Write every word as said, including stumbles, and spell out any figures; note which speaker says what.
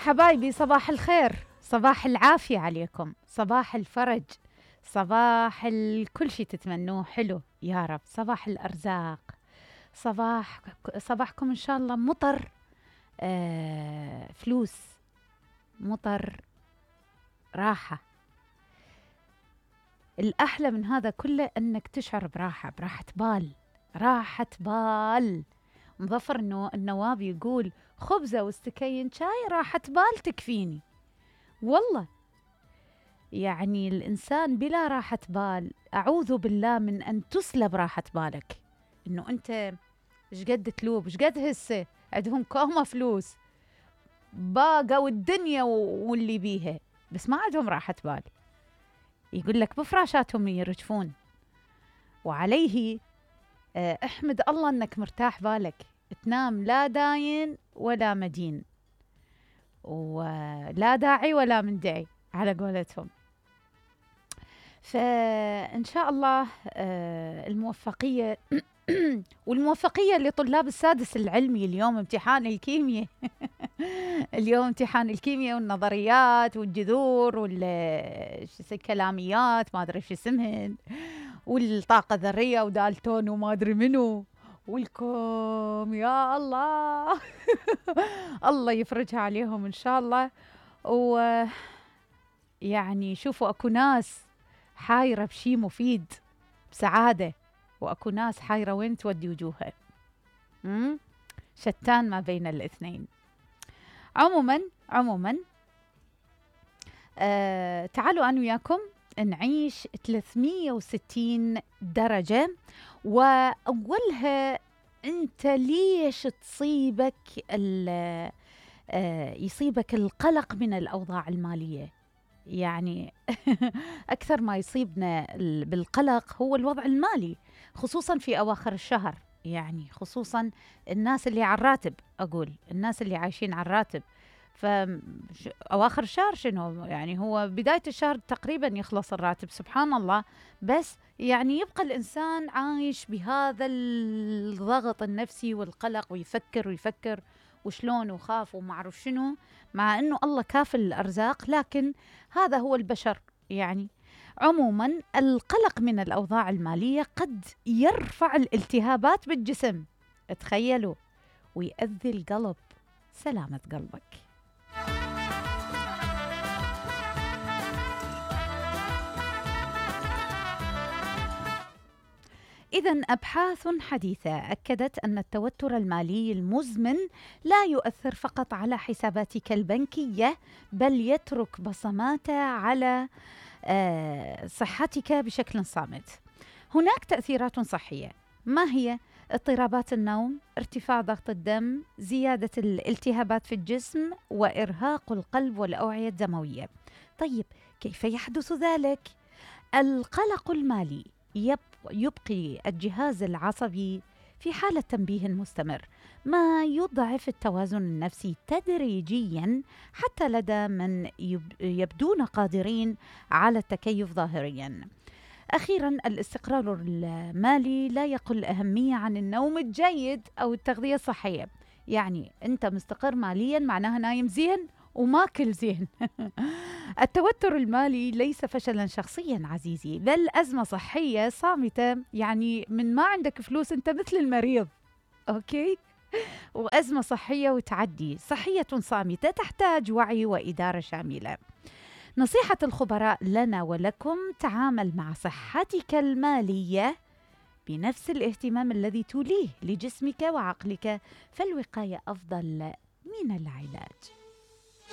Speaker 1: حبايبي صباح الخير، صباح العافية عليكم، صباح الفرج، صباح كل شي تتمنوه حلو يا رب، صباح الأرزاق، صباح صباحكم إن شاء الله مطر، آه فلوس، مطر، راحة. الأحلى من هذا كله أنك تشعر براحة، براحة بال، راحة بال. مظفر إنه النواب يقول خبزة واستكين شاي راحة بال تكفيني. والله يعني الإنسان بلا راحة بال أعوذ بالله من أن تسلب راحة بالك. إنه أنت إيش قد تلوب، إيش قد هسه عندهم كومة فلوس باقوا الدنيا واللي بيها، بس ما عندهم راحة بال. يقول لك بفراشاتهم يرجفون. وعليه اه احمد الله أنك مرتاح بالك، تنام لا داين ولا مدين، ولا داعي ولا مندعي على قولتهم. فإن شاء الله الموفقية والموفقية لطلاب السادس العلمي. اليوم امتحان الكيمياء اليوم امتحان الكيمياء والنظريات والجذور والكلاميات ما أدري شو اسمهن، والطاقة الذرية ودالتون وما أدري منو والكم. يا الله الله يفرجها عليهم إن شاء الله. ويعني شوفوا أكو ناس حايرة بشي مفيد بسعادة، وأكو ناس حايرة وين تودي وجوهها، شتان ما بين الاثنين. عموما عموما آه تعالوا أنا وياكم نعيش ثلاثمية وستين درجة. وأولها أنت ليش تصيبك آه يصيبك القلق من الأوضاع المالية؟ يعني أكثر ما يصيبنا بالقلق هو الوضع المالي، خصوصا في أواخر الشهر. يعني خصوصا الناس اللي على الراتب، أقول الناس اللي عايشين على الراتب. فأواخر الشهر شنو يعني؟ هو بداية الشهر تقريبا يخلص الراتب، سبحان الله. بس يعني يبقى الإنسان عايش بهذا الضغط النفسي والقلق، ويفكر ويفكر وشلون وخاف ومعرف شنو، مع أنه الله كافل الأرزاق، لكن هذا هو البشر يعني. عموما القلق من الأوضاع المالية قد يرفع الالتهابات بالجسم، تخيلوا، ويؤذي القلب. سلامة قلبك. إذن أبحاث حديثة أكدت أن التوتر المالي المزمن لا يؤثر فقط على حساباتك البنكية، بل يترك بصماته على صحتك بشكل صامت. هناك تأثيرات صحية، ما هي؟ اضطرابات النوم، ارتفاع ضغط الدم، زيادة الالتهابات في الجسم، وإرهاق القلب والأوعية الدموية. طيب كيف يحدث ذلك؟ القلق المالي يبقي الجهاز العصبي في حالة تنبيه مستمر، ما يضعف التوازن النفسي تدريجيا حتى لدى من يبدون قادرين على التكيف ظاهريا. أخيرا الاستقرار المالي لا يقل أهمية عن النوم الجيد أو التغذية الصحية. يعني أنت مستقر ماليا معناها نايم زين وماكل زين. التوتر المالي ليس فشلا شخصيا عزيزي، بل أزمة صحية صامتة. يعني من ما عندك فلوس أنت مثل المريض، أوكي؟ وأزمة صحية وتعدي، صحية صامتة تحتاج وعي وإدارة شاملة. نصيحة الخبراء لنا ولكم: تعامل مع صحتك المالية بنفس الاهتمام الذي توليه لجسمك وعقلك، فالوقاية أفضل من العلاج.